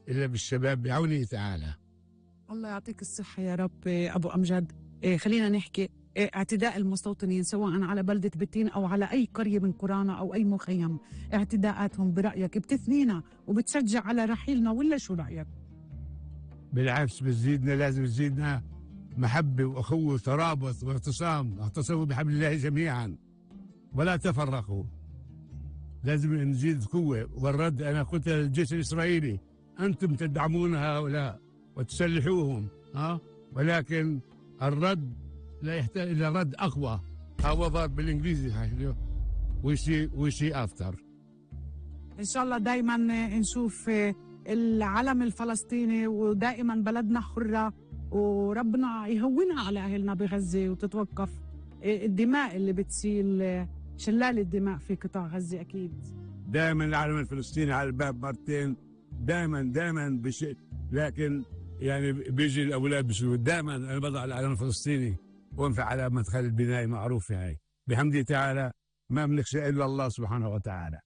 إلا بالشباب بعونه تعالى. الله يعطيك الصحة يا رب أبو أمجد. خلينا نحكي اعتداء المستوطنين سواء على بلدة بتين أو على أي قرية من قرانا أو أي مخيم، اعتداءاتهم برأيك بتثنينا وبتشجع على رحيلنا ولا شو رأيك؟ بالعكس بتزيدنا، لازم تزيدنا محبة وأخوة وترابط واعتصام، اعتصموا بحبل الله جميعا ولا تفرقوا. لازم نزيد قوة. والرد أنا قلت للجيش الإسرائيلي أنتم تدعمون هؤلاء وتسلحوهم ولكن الرد لا يحتاج إلى رد أقوى. هو ضرب بالإنجليزي وشي أفتر. إن شاء الله دايما نشوف العلم الفلسطيني ودائما بلدنا حرة وربنا يهونها على أهلنا بغزة وتتوقف الدماء اللي بتسيل، شلال الدماء في قطاع غزة. أكيد دائما العلم الفلسطيني على الباب مرتين، دائما لكن يعني بيجي الأولاد بيشوفوا دائما أنا بضع العلم الفلسطيني وانفع على مدخل البناء معروفة هاي بحمده تعالى. ما بنخشى إلا الله سبحانه وتعالى.